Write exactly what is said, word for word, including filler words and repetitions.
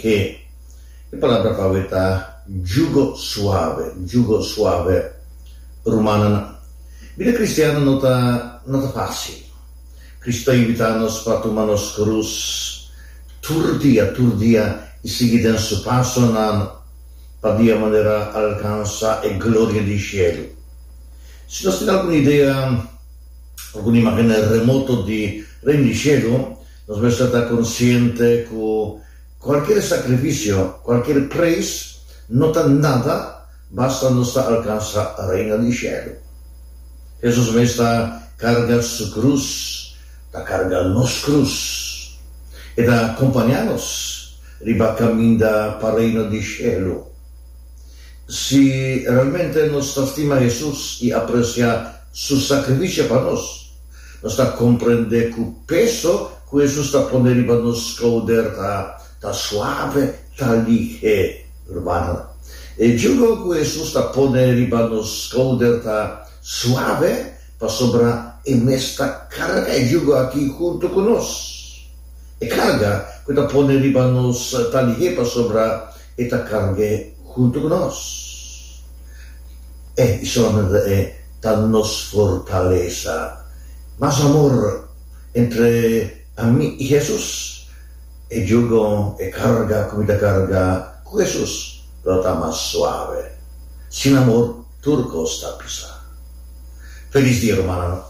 E palabra pa awe ta yugo suave, yugo suave. Rumannan, bida kristian no ta no ta fásil. Kristu ta invitá nos pa tuma nos krus tur dia, tur dia i sigui den su pasonan pa di e manera alkansá e gloria di shelu. Si nos tin algun idea, algun imágen remoto di reino di shelu, nos mester ta konsiente ku kualke sakrifisio, kualke preis, no ta nada, basta nos ta alkansá reino di shelu. Hesus mes ta karga su krus, ta karga nos krus, i ta kompañá nos riba kaminda pa reino di shelu. Si realmente nos ta stima Hesus i apresiá su sakrifisio pa nos, nos ta komprondé ku peso ku Hesus ta pone riba nos skouder ta, ta suave, ta lihé, ruman. E yugo ku Hesus ta pone riba nos skouder ta suave, pasobra e mes ta karga e yugo aki huntu ku nos. E karga ku ta pone riba nos ta lihé pasobra e ta karg'é huntu ku nos. E solamente e ta nos fortalesa. Mas amor entre ami i Hesus. E yugo, e karga, ku mi ta karga ku Hesus, lo ta mas suave. Sin amor, tur kos ta pisá. Felis dia, ruman.